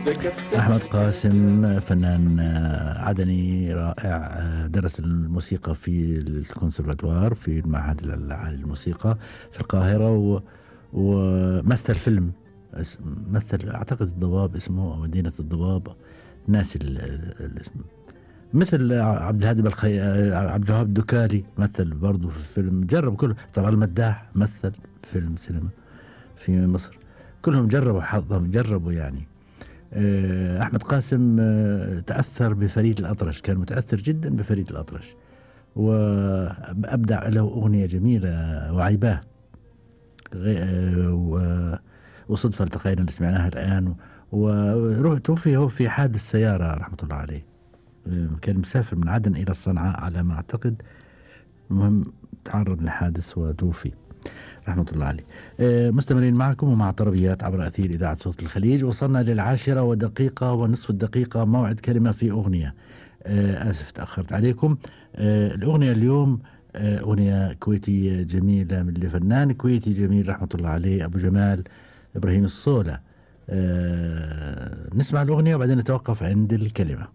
أحمد قاسم فنان عدني رائع. درس الموسيقى في الكونسرفاتوار في المعهد العالي للموسيقى في القاهرة ومثل فيلم مثل أعتقد الضباب اسمه، أو مدينة الضباب، ناسي الاسم. مثل عبد الهادي عبد الوهاب الدكالي مثل برضو في فيلم، جرب كله. طبعا المداح مثل فيلم سينما في مصر. كلهم جربوا حظهم، جربوا يعني. أحمد قاسم تأثر بفريد الأطرش، كان متأثر جدا بفريد الأطرش، وأبدع له أغنية جميلة وعيباه، وصدفة التقينا اللي سمعناها الآن. توفي هو في حادث سيارة رحمة الله عليه. كان مسافر من عدن إلى الصنعاء على ما أعتقد، المهم تعرض لحادث وتوفي رحمة الله عليه. مستمرين معكم ومع طربيات عبر أثير إذاعة صوت الخليج. وصلنا ل10:01 دقيقة، موعد كلمة في أغنية. آسف تأخرت عليكم. الأغنية اليوم أغنية كويتية جميلة من لفنان كويتي جميل رحمة الله عليه، أبو جمال إبراهيم الصولة. نسمع الأغنية وبعدين نتوقف عند الكلمة.